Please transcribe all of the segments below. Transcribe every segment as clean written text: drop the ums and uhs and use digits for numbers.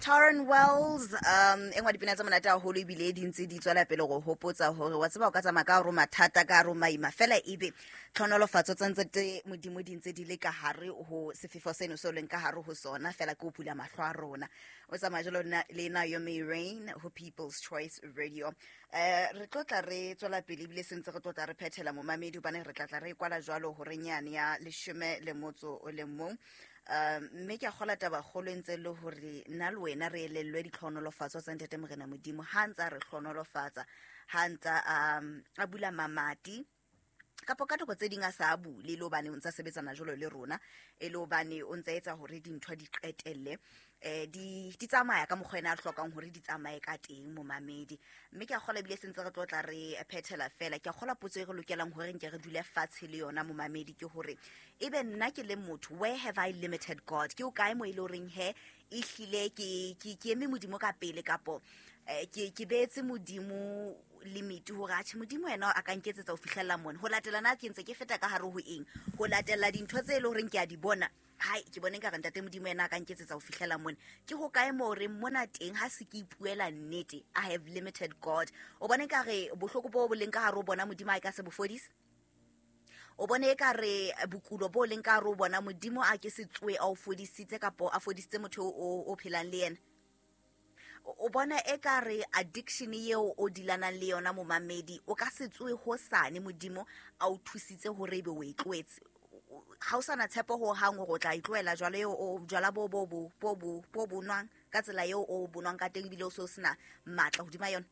Tauren Wells, e nngwe dipina tse monate haholo ebile di ntse di tswela pele go hopotsa hore wa tseba o ka tsamaya ka hore mathata ka hare maima fela ebe tlhonolofatso tse ntse tse modimo di ntse di le ka hare ho sefefo seno se o leng ka hare ho sona fela ke ho bula mahlo a rona. O tsamaya jalo le Naomi Rain ho People's Choice Radio. Re tlo tla re tswela pele ebile sentse re tlo tla re phethela momamedi hobane re tla tla re kwala jwalo hore nyane ya 11. Mme ke a kgola taba kgolo e ntse le hore nna le wena re elellwe ditlhonolofatso tsa Ntate Morena Modimo ha ntse a re hlonolofatsa, ha ntse a bula mamati kapo ka nako tse ding a sa a bule, le hobane o ntse a sebetsana jwalo le rona, e le hobane o ntse a etsa hore dintho di qetelle di tsamaya ka mokgwa ena a hlokang hore di tsamaye ka teng momamedi. Mme ke a kgola ebile sentse re tlo tla re phethela fela. Ke a kgola potso e re lokelang hore nke re dule fatshe le yona momamedi ke hore ebe nna ke le motho, where have I limited God? Ke o kae mo e le horeng he ehlile ke eme Modimo ka pele kapo ke beetse Modimo limit hore atjhe Modimo yena a ka nketsetsa ho fihlella mona. Ho latela na ke ntse ke feta ka hare ho eng? Ho latela dintho tse e le horeng ke a di bona. Hai, ke bone nka re Ntate Modimo yena a ka nketsetsa ho fihlela mona. Ke ho kae moo re mona teng ha se ke ipuela nnete, I have limited God. O bone nka re bohloko bo bo leng ka hare ho bona Modimo a ka se bo fodise? O bone e ka re bokulo bo leng ka hare ho bona Modimo a ke se tsoe a o fodisitse kapo a fodisitse motho o phelang le yena? O bona e ka re addiction eo o dilanang le yona momamedi, o ka se tsoe hosane Modimo a o thusitse hore ebe o e tlohetse. Ha o sana tshepo ho hang hore o tla e tlohela jwalo eo o jwala bo bo bo bo bo bo bonwang ka tsela eo o bonwang ka teng ebile o se o sena matla hodima yona.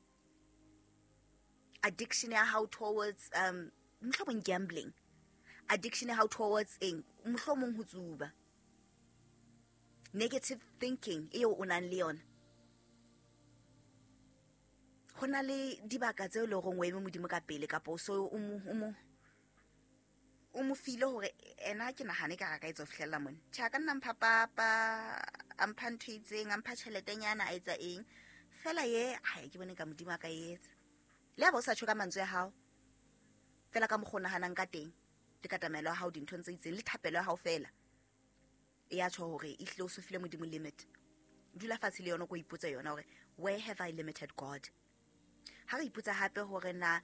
Addiction ya hao towards mohlomong gambling, addiction ya hao towards eng, mohlomong ho tsuba, negative thinking eo o nang le yona. Ho na le dibaka tseo le horeng o eme Modimo ka pele kapa o so o mo file hore ena ke nahane ka ka etsa ho fihlella mona. Tjhe, a ka nna mpha papa, a mpha ntho e itseng, a mpha tjheletenyana, a etsa eng. Fela ye, ha ke bone ka Modimo a ka etsa. Le ha ba o sa tjho ka mantswe a hao, fela ka mokgwa o nahanang ka teng, le ka tamelo ya hao dinthong tse itseng, le thapelo ya hao fela. E ya tjho hore ehlile o so file Modimo limit. Dula fatshe le yona ko ipotse yona hore where have I limited God? Ha re ipotsa hape hore na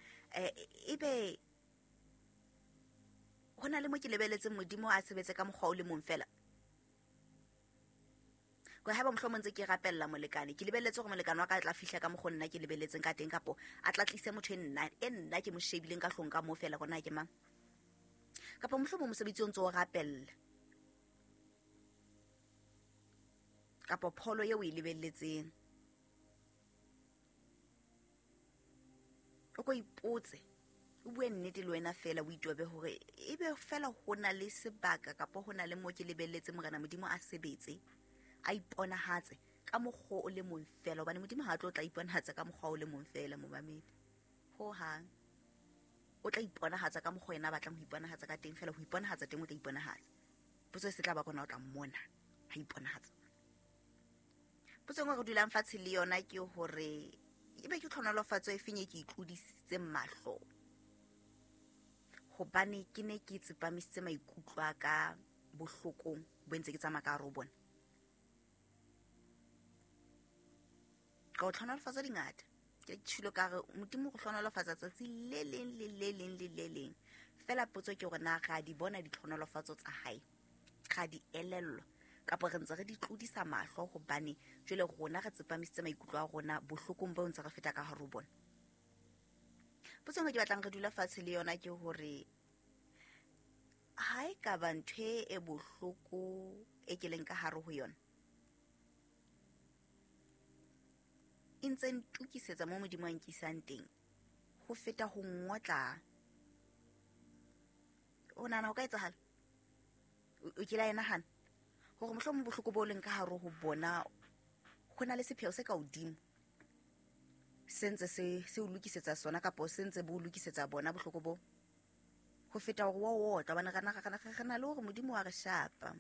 ebe ho na le mo ke lebeletseng Modimo a sebetse ka mokgwa o le mong fela. Kwa haeba mohlomong ntse ke rapella molekane, ke lebelletse hore molekane wa ka a tla fihla ka mokgwa nna ke lebelletseng ka teng, kapo a tla tlise motho e nna ke mo shebileng ka hlong ka moo fela hore na ke mang. Kapa mohlomong mosebetsi o ntse o rapella, kapa pholo eo o e lebelletseng. O ko ipotse, o bue nnete le wena fela, o itobe hore ebe fela ho na le sebaka kapa ho na le moo ke lebelletse Morena Modimo a sebetse, a iponahatse ka mokgwa o le mong fela, hobane Modimo ha a tlo tla iponahatsa ka mokgwa o le mong fela momamedi. Ho hang. O tla iponahatsa ka mokgwa yena a batlang ho iponahatsa ka teng fela, ho iponahatsa teng o tla iponahatsa. Potso e se tla ba kona o tla mmona ha iponahatsa. Potso e nngwe re dulang fatshe le yona ke hore ebe ke tlhonolofatso e feng e ke itlodisitseng mahlo, hobane ke ne ke tsepamisitse maikutlo a ka bohlokong bo ntse ke tsamaya ka hare ho bona. Ka ho tlhonolofatsa dingata, ke tjhilo ka re Modimo go hlonolofatsa tsatsi le leng le le leng le le leng. Fela potso ke hore na ra di bona ditlhonolofatso tsa hae, ra di elellwa kapa re ntse re di tlodisa mahlo, hobane jwale rona re tsepamisitse maikutlo a rona bohlokong bo ntse re feta ka hare ho bona. Potso e nngwe ke batlang re dula fatshe le yona ke hore ha e ka ba ntho e bohloko e ke leng ka hare ho yona e ntse ntokisetsa mo Modimo a nkisang teng ho feta ho ngotla. O nahana ho ka etsahala? O kile a e nahana hore mohlomong bohloko bo leng ka hare ho bona ho na le sepheo se ka hodimo se ntse se o lokisetsa sona, kapa se ntse bo o lokisetsa bona bohloko bo, ho feta hore wa o otla, hobane re na le hore Modimo wa re shapa.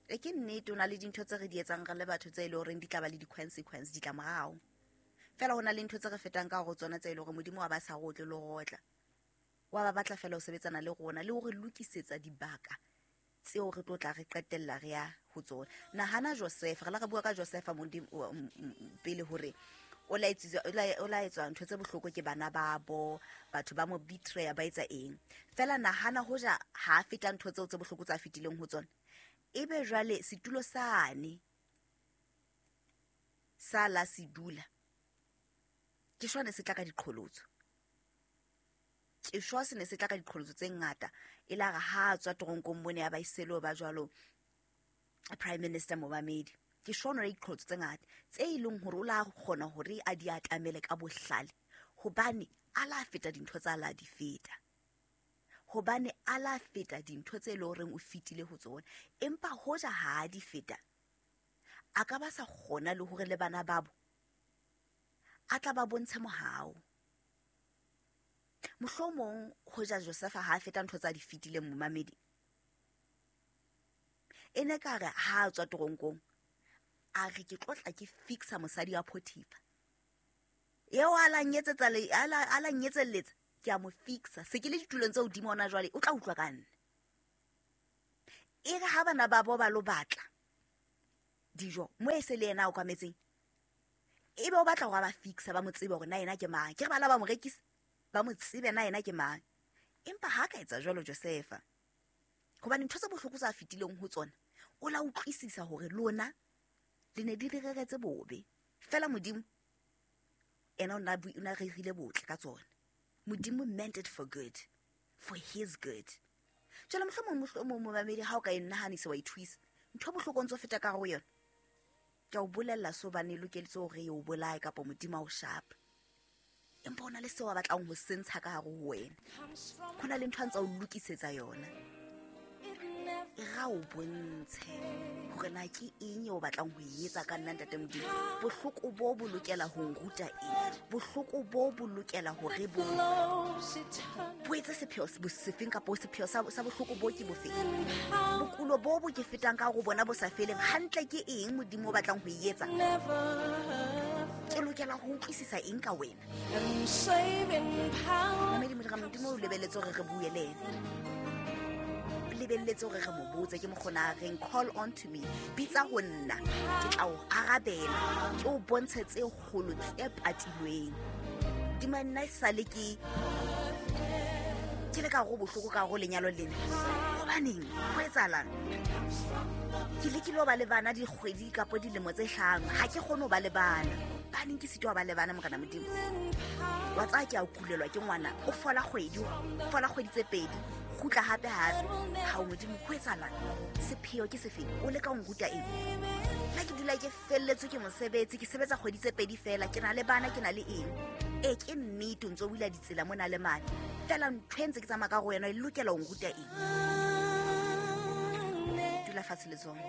E ke nnete, o na le dintho tse re di etsang re le batho tse e le horeng di tla ba le di-consequence, ditlamorao. Fela ho na le ntho tse re fetang ka hore tsona tse e le hore Modimo wa ba sa re otle le ho otla. Wa ba batla fela ho sebetsana le rona le hore lokisetsa dibaka Tseo re tlo tla re qetella re ya ho tsona. Nahana Joseph, re la re bua ka Joseph modimo pele hore o la etswa ntho tse bohloko ke bana babo, batho ba mo betray ba etsa eng. Fela nahana hoja ha feta ntho tseo tse bohloko tsa fetileng ho tsona. Ebe jwale setulo sane sa la sedula ke shwane se tla ka diqholotso. Ke shwa se ne se tla ka diqholotso tse ngata. E la re ha tswa toronkong mone ya ba iselo ba jwalo Prime Minister Momamedi. Ke shwa le diqholotso tse ngata tse ileng hore o la kgona hore a di atamele ka bohlale, hobane a la feta dintho tsa la di feta. Hobane a la feta dintho tse leng horeng o fetile ho tsona. Empa hoja ha di feta, a ka ba sa kgona le hore le bana babo a tla ba bontshe mohau. Mohlomong hoja Joseph ha a feta ntho tsa di fetileng momamedi, e ne ka re ha a tswa toronkong a re ke tlotla ke fixa mosadi wa Potiphar eo a la nyetsetsa le a la nyetselletsa, ke a mo fixa. Se ke le ditulong tse hodimo hona jwale, o tla utlwa ka nna. E re ha bana babo ba lo batla dijo mo e se le yena a okametseng, ebe o batla hore ba fixa ba mo tsebe hore na yena ke mang. Ke re bana ba mo rekisa ba mo tsebe na yena ke mang. Empa ha ka etsa jwalo Josepha, hobane ntho tse bohloko tsa fetileng ho tsona o la utlwisisa hore lona le ne di reretse bobe. Fela Modimo ena o na rerile botle ka tsona. Modimo meant it for good, for his good. Jwale mohlomong momamedi ha o ka e nahanisa wa ithuisa ntho bohloko ntso feta ka ho yona, ke a o bolella so bane lokeletse hore e o bolae kapa Modimo a o shapa. Empa hona le seo a batlang ho sentsha ka hare ho wena. Hona le ntho a ntsa o lokisetsa yona. E ra o bontshe hore na ke eng eo o batlang ho e etsa ka nna ntate Modimo. Bohloko bo bo lokela ho nruta eng? Bohloko bo bo lokela hore bo etse sepheo sefeng kapa sepheo sa bohloko bo ke bofeng? Bokulo bo bo ke fetang ka hore bona bo sa feleng hantle ke eng Modimo o batlang ho e etsa? Ke lokela ho utlwisisa eng ka wena? Mamedi Modimo o lebeletse hore re bue le yena. Lebelletse hore re mo botse, ke mokgona reng call on to me, bitsa ho nna, ke tla o arabela, ke o bontshe tse kgolo tse patilweng. Dima nna e sale ke le ka go bohloko ka go lenyalo lena. Hobaneng ho etsahalang? Ke lekile ho ba le bana dikgwedi kapa dilemo tse hlano, ha ke kgone ho ba le bana. Baneng ke sitwa ba le bana Morena Modimo. Wa tsaya ke a kulelwa ke ngwana, o fola kgwedi, fola kgwedi tse pedi, kgutla hape hape. Ha o Modimo ho etsahalang? Sepheo ke sefeng? O leka ho nruta eng? Nna ke dula ke felletswe ke mosebetsi, ke sebetsa kgwedi tse pedi fela, ke na le bana, ke na le eng? E ke nnete o ntso o bula ditsela mona le mane. Fela ntho e ntse ke tsamaya ka go yona e lokela ho nruta eng? Dula fatshe le tsona.